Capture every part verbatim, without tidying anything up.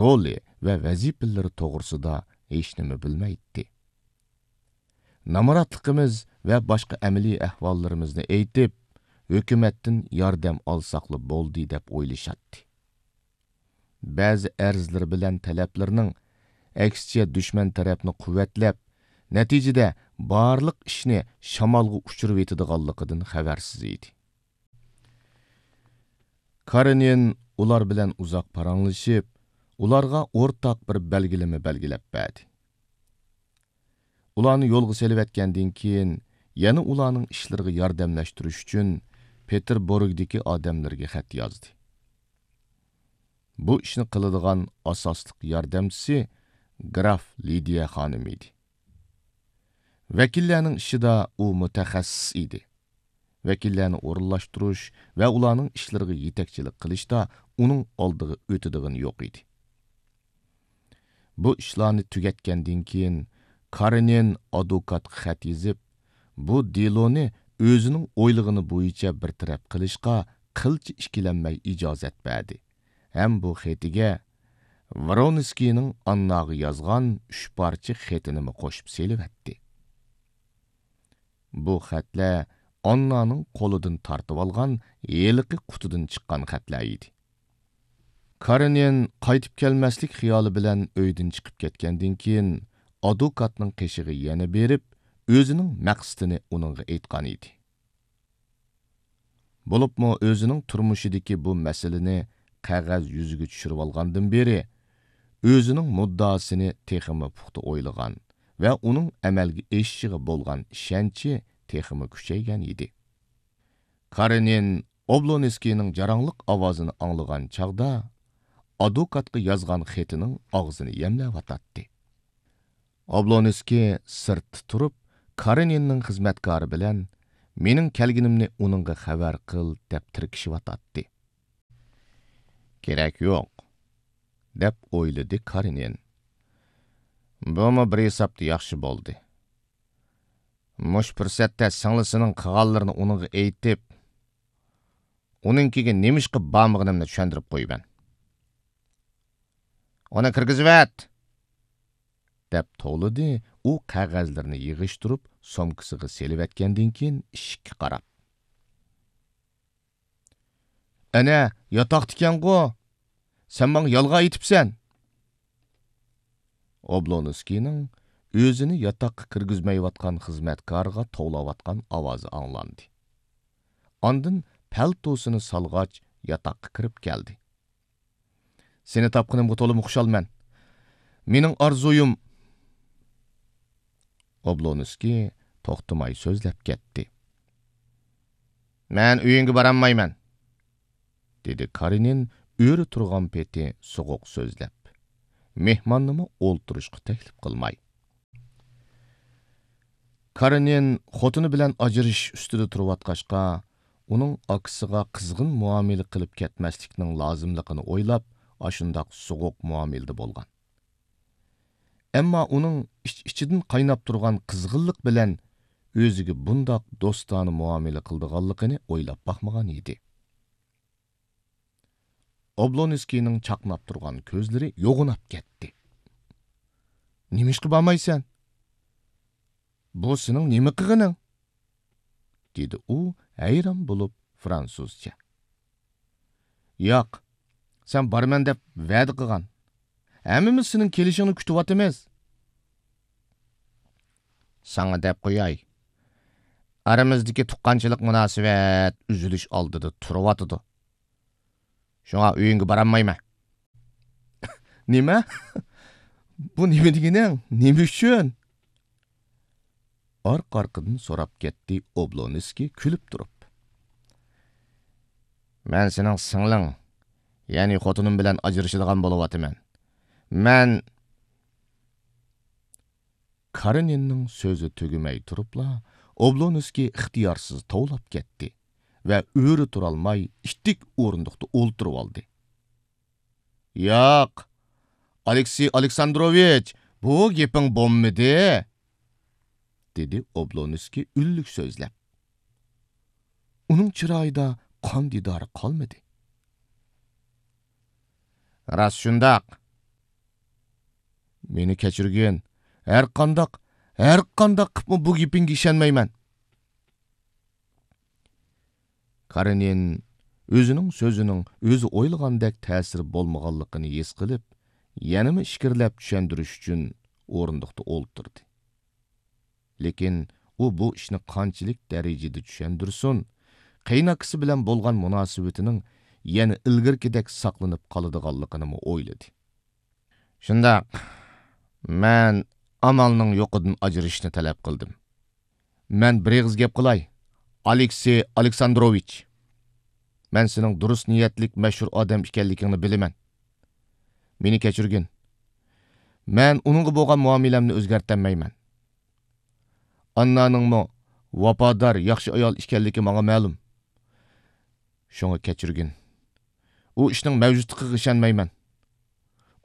رولى ۋە ۋەزىپىلىرى توغرىسىدا ھېچنېمە بىلمەيتتى. نامراتلىقىمىز ۋە باشقا ئەمەلىي ئەھۋاللىرىمىزنى ئېيتىپ، ھۆكۈمەتتىن ياردەم ئالساقلا بولدى دەپ ئويلىشاتتى. بەزى ئەرزلىرى بىلەن تەلەپلىرىنىڭ ئەكسىچە دۈشمەن تەرەپنى قۇۋۋەتلەپ، نەتىجىدە بارلىق ئىشنى شامالغا ئۇچۇرۇۋېتىدىغانلىقىدىن خەۋەرسىز ئىدى. كارېنىن ئۇلار بىلەن ئۇزاق پاراڭلىشىپ، ئۇلارغا ئورتاق بىر بەلگىلىمە بەلگىلەپ بەردى. ئۇلارنى يولغا سېلىۋەتكەندىن كېيىن، يەنە ئۇلارنىڭ ئىشلىرىغا ياردەملەشتۈرۈش ئۈچۈن پېتېربۇرگدىكى ئادەملىرىگە خەت يازدى. بۇ ئىشنى قىلىدىغان ئاساسلىق ياردەمچىسى گراف لىدىيە خانىم ئىدى. ۋەكىللەرنىڭ ئىشىدا ئۇ مۇتەخەسسىس ئىدى. ۋەكىللەرنى ئورۇنلاشتۇرۇش ۋە ئۇلارنىڭ ئىشلىرىغا يېتەكچىلىك قىلىشتا ئۇنىڭ ئالدىغا ئۆتىدىغىنى يوق ئىدى. بۇ ئىشلارنى تۈگەتكەندىن كېيىن، كارېنىن ئادۋوكاتقا خەت يېزىپ، بۇ دېلونى ئۆزىنىڭ ئويلىغىنى بويىچە بىر تەرەپ قىلىشقا قىلچە ئىككىلەنمەي ئىجازەت بەردى ھەم بۇ خېتىگە ۋرونسكىينىڭ ئانناغا يازغان ئۈچ پارچە خېتىنىمۇ قوشۇپ سېلىۋەتتى. بۇ خەتلەر ئاننانىڭ قولىدىن تارتىۋالغان ھېلىقى قۇتىدىن چىققان خەتلەر ئىدى. كارېنىن قايتىپ كەلمەسلىك خىيالى بىلەن ئۆيدىن چىقىپ كەتكەندىن كېيىن، ئادۋوكاتنىڭ قېشىغا يەنە بېرىپ، ئۆزىنىڭ مەقسىتىنى ئۇنىڭغا ئېيتقان ئىدى. بولۇپمۇ ئۆزىنىڭ تۇرمۇشىدىكى بۇ مەسىلىنى قەغەز يۈزىگە چۈشۈرۈۋالغاندىن بېرى، ئۆزىنىڭ مۇددىئاسىنى تېخىمۇ پۇختا ئويلىغان ۋە ئۇنىڭ ئەمەلگە ئېشىشىغا بولغان ئىشەنچى تېخىمۇ كۈچەيگەن ئىدى. كارېنىن ئوبلونسكىينىڭ جاراڭلىق ئاۋازىنى ئاڭلىغان چاغدا، ئادۋوكاتقا يازغان خېتىنىڭ ئاغزىنى يەملەۋاتاتتى. ئوبلونسكىي سىرتتا تۇرۇپ، كارېنىننىڭ خىزمەتكارى بىلەن، «مېنىڭ كەلگىنىمنى ئۇنىڭغا خەۋەر قىل» دەپ تىركىشىۋاتاتتى. «كېرەك يوق» دەپ ئويلىدى كارېنىن. «بۇمۇ بىر ھېسابتا ياخشى بولدى. مۇشۇ پۇرسەتتە سىڭلىسىنىڭ قىلغانلىرىنى ئۇنىڭغا ئېيتىپ، ئۇنىڭكىگە نېمىشقا بارمىغىنىمنى چۈشەندۈرۈپ قويىمەن. ئۇنى كىرگۈزۈۋەت!» دەپ توۋلىدى ئۇ قەغەزلىرىنى يىغىشتۇرۇپ سومكىسىغا سېلىۋەتكەندىن كېيىن ئىشىككە قاراپ. «ئەنە، ياتاقتىكەنغۇ! سەن ماڭا يالغان ئېيتىپسەن!» ئوبلونسكىينىڭ ئۆزىنى ياتاققا كىرگۈزمەيۋاتقان خىزمەتكارىغا توۋلاۋاتقان ئاۋازى ئاڭلاندى. ئاندىن پەلتوسىنى سالغاچ ياتاققا كىرىپ كەلدى. «سېنى تاپقىنىمغا تولىمۇ خۇشالمەن. مېنىڭ ئارزۇيۇم...» ئوبلونسكىي توختىماي سۆزلەپ كەتتى. «مەن ئۆيۈڭگە بارالمايمەن.» دېدى كارېنىن ئۆرە تۇرغان پېتى سوغۇق سۆزلەپ، مېھماننىمۇ ئولتۇرۇشقا تەكلىپ قىلماي. كارېنىن خوتۇنى بىلەن ئاجرىشىش ئۈستىدە تۇرۇۋاتقاچقا، ئۇنىڭ ئاكىسىغا قىزغىن مۇئامىلە قىلىپ كەتمەسلىكنىڭ لازىملىقىنى ئويلاپ، ئاشۇنداق سوغۇق مۇئامىلىدە بولغان. ئەمما ئۇنىڭ ئىچ-ئىچىدىن قايناپ تۇرغان قىزغىنلىق بىلەن ئۆزىگە بۇنداق دوستانە مۇئامىلە قىلىدىغانلىقىنى ئويلاپ باقمىغان ئىدى. ئوبلونسكىينىڭ چاقناپ تۇرغان كۆزلىرى يوغىناپ كەتتى. «نېمىشقا بارمايسەن؟ بۇ سېنىڭ نېمە قىلغىنىڭ؟» دېدى ئۇ ھەيران بولۇپ فرانسۇزچە. «ياق، سەن بارىمەن دەپ ۋەدە قىلغان. ھەممىمىز سېنىڭ كېلىشىڭنى كۈتۈۋاتىمىز.» «ساڭا دەپ قوياي، ئارىمىزدىكى تۇغقانچىلىق مۇناسىۋەت ئۈزۈلۈش ئالدىدا تۇرۇۋاتىدۇ. شۇڭا ئۆيۈڭگە بارالمايمەن.» «نېمە؟ بۇ نېمە دېگىنىڭ؟ نېمە ئۈچۈن؟» ئارقا-ئارقىدىن سوراپ كەتتى ئوبلونسكىي كۈلۈپ تۇرۇپ. «مەن سېنىڭ سىڭلىڭ، يەنى خوتۇنۇم بىلەن ئاجرىشىدىغان بولۇۋاتىمەن. مەن...» كارېنىننىڭ سۆزى تۈگىمەي تۇرۇپلا، ئوبلونسكىي ئىختىيارسىز توۋلاپ كەتتى ۋە ئۆرە تۇرالماي ئىتتىك ئورۇندۇقتا ئولتۇرۇۋالدى. «ياق، ئالېكسېي ئالېكساندروۋىچ، بۇ گېپىڭ بولمىدى!» دېدى ئوبلونسكىي ئۈنلۈك سۆزلەپ. ئۇنىڭ چىرايىدا قان دىدارى قالمىدى. «راست شۇنداق. مېنى كەچۈرگىن. ھەرقانداق، ھەرقانداق قىپمۇ بۇ گېپىڭگە ئىشەنمەيمەن. كارېنىن ئۆزىنىڭ سۆزىنىڭ ئۆزى ئويلىغاندەك تەسىرى بولمىغانلىقىنى ھېس قىلىپ، يەنىمۇ ئىچكىرىلەپ چۈشەندۈرۈش ئۈچۈن ئورۇندۇقتا ئولتۇردى. لېكىن ئۇ بۇ ئىشنى قانچىلىك دەرىجىدە چۈشەندۈرسۇن، قېيىنئاكىسى بىلەن بولغان مۇناسىۋىتىنىڭ يەنە ئىلگىرىكىدەك ساقلىنىپ قالىدىغانلىقىنىمۇ ئويلىدى. شۇنداق، مەن ئامالنىڭ يوقىدىن ئاجرىشىشنى تەلەپ قىلدىم. مەن بىر ئېغىز گەپ قىلاي، ئالېكسېي ئالېكساندروۋىچ. مەن سېنىڭ دۇرۇس نىيەتلىك، مەشھۇر ئادەم ئىكەنلىكىڭنى بىلىمەن. مېنى كەچۈرگىن. مەن ئۇنىڭغا بولغان مۇئامىلەمنى ئۆزگەرتەلمەيمەن. ئاننانىڭمۇ ۋاپادار، ياخشى ئايال ئىكەنلىكى ماڭا مەلۇم. شۇڭا كەچۈرگىن. ئۇ ئىشنىڭ مەۋجۇتلۇقىغا ئىشەنمەيمەن.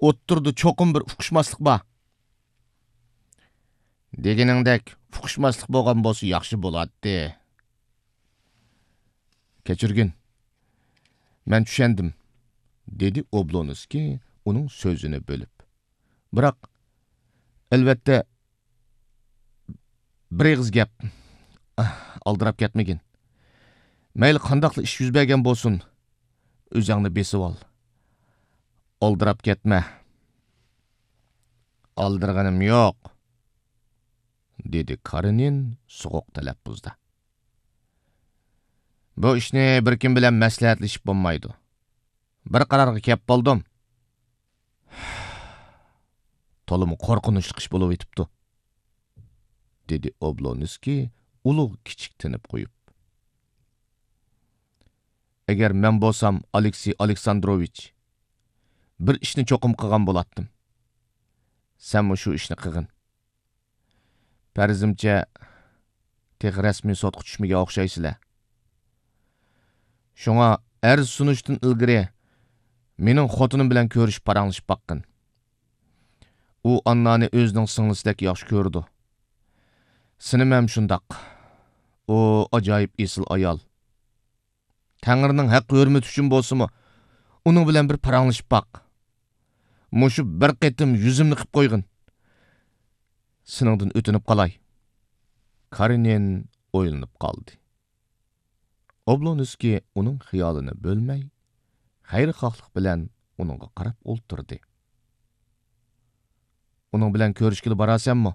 ئوتتۇرىدا چوقۇم بىر ئۇقۇشماسلىق بار. دېگىنىڭدەك ئۇقۇشماسلىق بولغان بولسا ياخشى بولاتتى. كەچۈرگىن. مەن چۈشەندىم، دېدى ئوبلونسكىي ئۇنىڭ سۆزىنى بۆلۈپ. بىراق، ئەلۋەتتە، بىر ئېغىز گەپ. ئالدىراپ كەتمىگىن. مەيلى قانداقلا ئىش يۈز بەرگەن بولسۇن، ئۆزۈڭنى بېسىۋال. ئالدىراپ كەتمە. ئالدىرىغىنىم يوق، دېدى كارېنىن سوغۇق تەلەپپۇزدا. بۇ ئىشنى بىر كىم بىلەن مەسلىھەتلىشىپ بولمايدۇ. بىر قارارغا كەپ بولدۇم. تولىمۇ قورقۇنچلۇق ئىش بولۇۋېتىپتۇ، دېدى ئوبلونسكىي ئۇلۇغ كىچىك تىنىپ قويۇپ. ئەگەر مەن بولسام، ئالېكسېي ئالېكساندروۋىچ، بىر ئىشنى چوقۇم قىلغان بولاتتىم. سەنمۇ شۇ ئىشنى قىلغىن. پەرىزىمچە، تېخى رەسمىي سوتقا چۈشمىگەن ئوخشايسىلەر. شۇڭا ئەرز سۇنۇشتىن ئىلگىرى مېنىڭ خوتۇنۇم بىلەن كۆرۈشۈپ پاراڭلىشىپ باققىن. ئۇ ئاننانى ئۆزىنىڭ سىڭلىسىدەك ياخشى كۆرىدۇ. سىنىم ھەم شۇنداق. ئۇ ئاجايىپ ئېسىل ئايال. تەڭرىنىڭ ھەق ھۆرمىتى ئۈچۈن بولسىمۇ، ئۇنىڭ بىلەن بىر پاراڭلىشىپ باق. مۇشۇ بىر قېتىم يۈزۈمنى قىپ قويغىن. سېنىڭدىن ئۆتۈنۈپ قالاي. كارېنىن ئويلىنىپ قالدى. ئوبلونسكىي ئۇنىڭ خىيالىنى بۆلمەي، خەيرىخاھلىق بىلەن ئۇنىڭغا قاراپ ئولتۇردى. ئۇنىڭ بىلەن كۆرۈشكىلى بارارسەنمۇ؟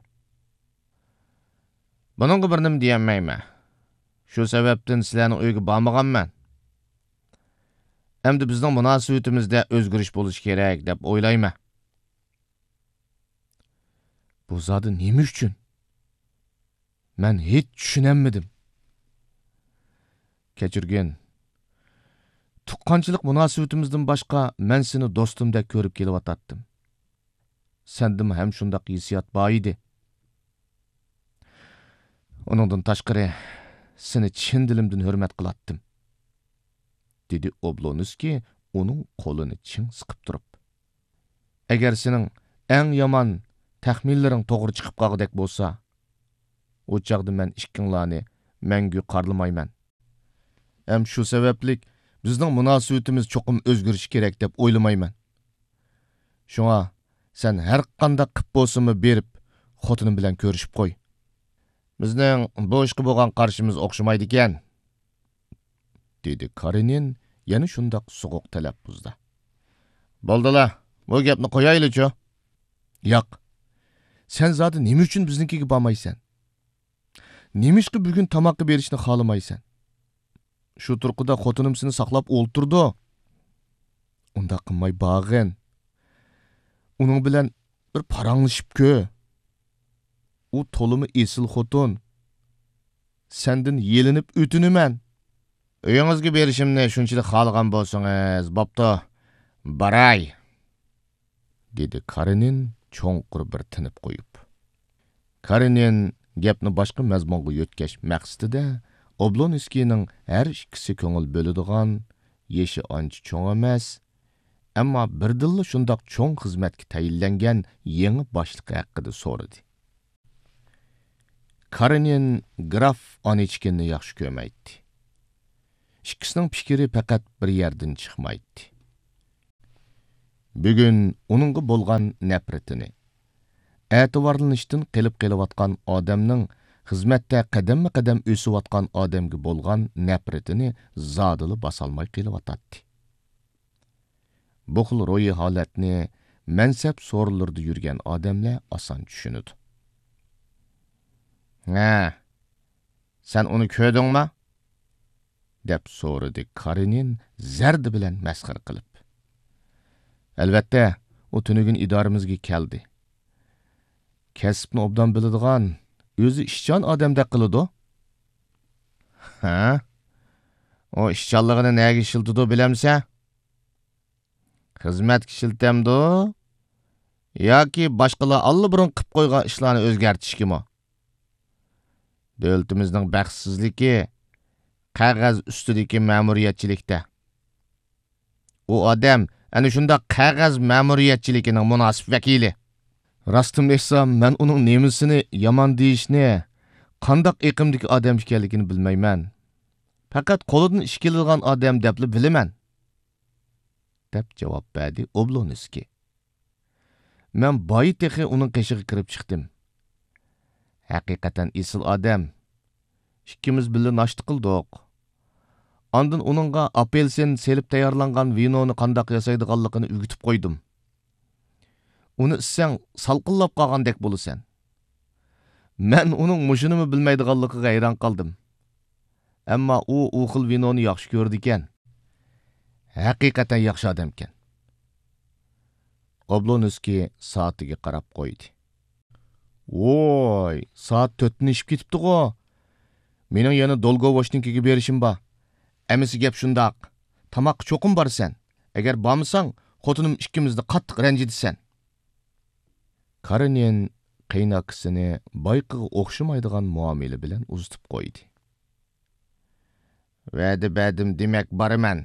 بۇنىڭغا بىر نېمە دېيەلمەيمەن. شۇ سەۋەبتىن سىلەرنىڭ ئۆيىگە بارمىغانمەن. ئەمدى بىزنىڭ مۇناسىۋىتىمىزدە ئۆزگىرىش بولۇشى كېرەك دەپ ئويلايمەن. بۇ زادى نېمە ئۈچۈن؟ مەن ھېچ چۈشىنەلمىدىم. كەچۈرگىن. تۇغقانچىلىق مۇناسىۋىتىمىزدىن باشقا مەن سېنى دوستۇمدەك كۆرۈپ كېلىۋاتاتتىم. سەندىمۇ ھەم شۇنداق ھېسسىيات بار ئىدى. ئۇنىڭدىن تاشقىرى، سېنى چىن دىلىمدىن ھۆرمەت قىلاتتىم، دېدى ئوبلونسكىي ئۇنىڭ قولىنى چىڭ سىقىپ تۇرۇپ. ئەگەر سېنىڭ ئەڭ يامان تەخمىنلىرىڭ توغرا چىقىپ قالغۇدەك بولسا، ئۇ چاغدا مەن ئىككىڭلارنى مەڭگۈ قارلىمايمەن. ھەم شۇ سەۋەبلىك بىزنىڭ مۇناسىۋىتىمىز چوقۇم ئۆزگىرىشى كېرەك دەپ ئويلىمايمەن. شۇڭا سەن ھەر قانداق قىپ بولسىمۇ بېرىپ، خوتۇنۇم بىلەن كۆرۈشۈپ قوي. بىزنىڭ بۇ ئىشقا بولغان قارىشىمىز ئوخشىمايدىكەن، دېدى كارېنىن يەنە شۇنداق سوغۇق تەلەپپۇزدا. بولدىلا، بۇ گەپنى قويايلىچۇ. ياق، سەن زادى نېمە ئۈچۈن بىزنىڭكىگە بارمايسەن؟ نېمىشقا بۈگۈن تاماققا بېرىشنى خالىمايسەن؟ شۇ تۇرقىدا خوتۇنۇم سېنى ساقلاپ ئولتۇرىدۇ. ئۇنداق قىلماي بارغىن. ئۇنىڭ بىلەن بىر پاراڭلىشىپ كۆر. ئۇ تولىمۇ ئېسىل خوتۇن. سەندىن يېلىنىپ ئۆتۈنىمەن. ئۆيىڭىزگە بېرىشىمنى شۇنچىلىك خالىغان بولسىڭىز، بوپتۇ، باراي، دېدى كارېنىن چوڭقۇر بىر تىنىپ قويۇپ. كارېنىن گەپنى باشقا مەزمۇنغا يۆتكەش مەقسىتىدە ئوبلونسكىينىڭ ھەر ئىككىسى كۆڭۈل بۆلىدىغان، يېشى ئانچە چوڭ ئەمەس، ئەمما بىردىنلا شۇنداق چوڭ خىزمەتكە تەيىنلەنگەن يېڭى باشلىقى ھەققىدە سورىدى. كارېنىن گراف ئانىچكىننى ياخشى كۆرمەيتتى. ئىككىسىنىڭ پىكرى پەقەت بىر يەردىن چىقمايتتى. بۈگۈن ئۇنىڭغا بولغان نەپرىتىنى، ئەتىۋارلىنىشتىن قېلىپ قېلىۋاتقان ئادەمنىڭ خىزمەتتە قەدەممۇ قەدەم ئۆسۈۋاتقان ئادەمگە بولغان نەپرىتىنى زادىلا باسالماي قېلىۋاتاتتى. بۇ خىل روھىي ھالەتنى مەنسەپ سورۇنلىرىدا يۈرگەن ئادەملەر ئاسان چۈشىنىدۇ. ھە، سەن ئۇنى كۆردۈڭمۇ؟ دەپ سورىدى كارېنىن زەردە بىلەن مەسخىرە قىلىپ. ئەلۋەتتە، ئۇ تۈنۈگۈن ئىدارىمىزگە كەلدى. كەسىپنى ئوبدان بىلىدىغان، ئۆزى ئىشچان ئادەمدەك قىلىدۇ. ھە؟ ئۇ ئىشچانلىقىنى نەگە ئىشلىتىدۇ بىلەمسەن؟ خىزمەتكە ئىشلىتەمدۇ؟ ياكى باشقىلار ئاللىبۇرۇن قىپ قويغان ئىشلارنى ئۆزگەرتىشكىمۇ؟ دۆلىتىمىزنىڭ بەختسىزلىكى قەغەز ئۈستىدىكى مەمۇرىيەتچىلىكتە. ئۇ ئادەم ئەنە شۇنداق قەغەز مەمۇرىيەتچىلىكىنىڭ مۇناسىپ ۋەكىلى. راستىمنى ئېيتسام، مەن ئۇنىڭ نېمىسىنى يامان دېيىشنى، قانداق ئېقىمدىكى ئادەم ئىكەنلىكىنى بىلمەيمەن. پەقەت قولىدىن ئىش كېلىدىغان ئادەم دەپلا بىلىمەن. دەپ جاۋاب بەردى ئوبلونسكىي. مەن بايا تېخى ئۇنىڭ قېشىغا كىرىپ چىقتىم. ھەقىقەتەن ئېسىل ئادەم. ئىككىمىز بىللە ناشتا قىلدۇق. ئاندىن ئۇنىڭغا ئاپېلسىن سېلىپ تەييارلانغان ۋىنونى قانداق ياسايدىغانلىقىنى ئۆگىتىپ قويدۇم. ئۇنى ئىچسەڭ، سالقىنلاپ قالغاندەك بولىسەن. مەن ئۇنىڭ مۇشۇنىمۇ بىلمەيدىغانلىقىغا ھەيران قالدىم. ئەمما ئۇ ئۇ خىل ۋىنونى ياخشى كۆرىدىكەن. ھەقىقەتەن ياخشى ئادەمكەن. ئوبلونسكىي سائىتىگە قاراپ قويدى. ۋوي، سائەت تۆتتىن ئېشىپ كېتىپتىغۇ. مېنىڭ يەنە دولگوۋوچنىڭكىگە بېرىشىم بار. ئەمىسە گەپ شۇنداق. تاماققا چوقۇم بارىسەن. ئەگەر بارمىساڭ، خوتۇنۇم ئىككىمىزنى قاتتىق رەنجىتىسەن. كارېنىن قېيىنئاكىسىنى بايىقىغا ئوخشىمايدىغان مۇئامىلە بىلەن ئۇزىتىپ قويدى. ۋەدە بەردىم، دېمەك بارىمەن،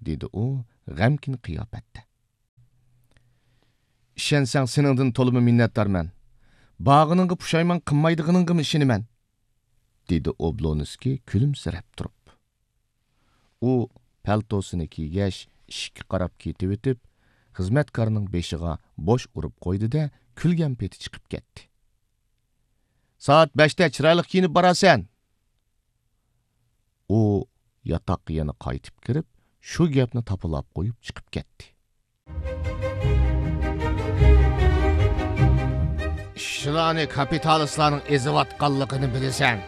دېدى ئۇ غەمكىن قىياپەتتە. ئىشەنسەڭ، سېنىڭدىن تولىمۇ مىننەتدارمەن. بارغىنىڭغا پۇشايمان قىلمايدىغىنىڭغىمۇ ئىشىنىمەن، دېدى ئوبلونسكىي كۈلۈمسىرەپ تۇرۇپ. ئۇ پەلتوسىنى كىيگەچ، ئىشىككە قاراپ كېتىۋېتىپ، خىزمەتكارنىڭ بېشىغا بوش ئۇرۇپ قويدى-دە، كۈلگەن پېتى چىقىپ كەتتى. سائەت بەشتە چىرايلىق كىيىنىپ بارارسەن. ئۇ ياتاققا يەنە قايتىپ كىرىپ، شۇ گەپنى تاپىلاپ قويۇپ چىقىپ كەتتى. ئىشچىلارنى كاپىتالىستلارنىڭ ئېزىۋاتقانلىقىنى بىلىسەن.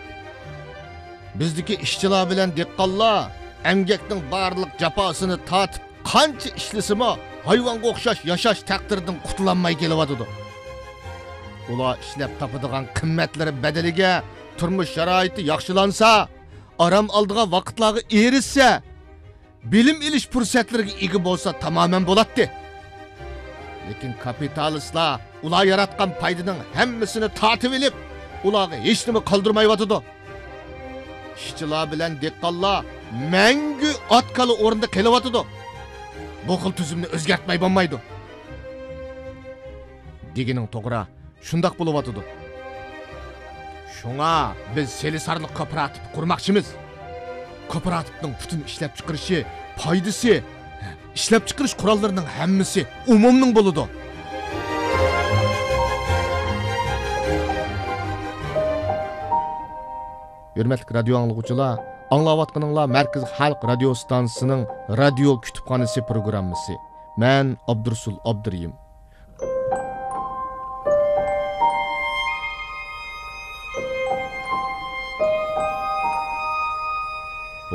بىزدىكى ئىشچىلار بىلەن دېھقانلار ئەمگەكنىڭ بارلىق جاپاسىنى تارتىپ، قانچە ئىشلىسىمۇ، ھايۋانغا ئوخشاش ياشاش تەقدىرىدىن قۇتۇلالماي كېلىۋاتىدۇ. ئۇلار ئىشلەپ تاپىدىغان قىممەتلىرى بەدىلىگە تۇرمۇش شارائىتى ياخشىلانسا، ئارام ئالىدىغان ۋاقىتلارغا ئېرىشسە، بىلىم ئېلىش پۇرسەتلىرىگە ئىگە بولسا تامامەن بولاتتى. لېكىن كاپىتالىستلار ئۇلار ياراتقان پايدىنىڭ ھەممىسىنى تارتىۋېلىپ، ئۇلارغا ھېچنېمە قالدۇرمايۋاتىدۇ. ئىشچىلار بىلەن دېھقانلار مەڭگۈ ئات-كالا ئورنىدا قېلىۋاتىدۇ. بۇ خىل تۈزۈمنى ئۆزگەرتمەي بولمايدۇ. دېگىنىڭ توغرا، شۇنداق بولۇۋاتىدۇ. شۇڭا بىز سېلىسارلىق كوپىراتىپى قۇرماقچىمىز. كوپىراتىپنىڭ پۈتۈن ئىشلەپچىقىرىشى، پايدىسى، ئىشلەپچىقىرىش قوراللىرىنىڭ ھەممىسى ئومۇمنىڭ بولىدۇ. ھۆرمەتلىك رادىيو ئاڭلىغۇچىلار، ئاڭلاۋاتقىنىڭلار مەركىزىي خەلق رادىيو ئىستانسىسىنىڭ رادىيو كۇتۇپخانىسى پروگراممىسى. مەن ئابدۇرۇسۇل ئابدۇرېھىم.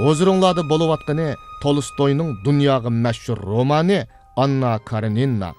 ھۇزۇرۇڭلاردا بولۇۋاتقىنى تولستوينىڭ دۇنياغا مەشھۇر رومانى ئاننا كارېنىنا.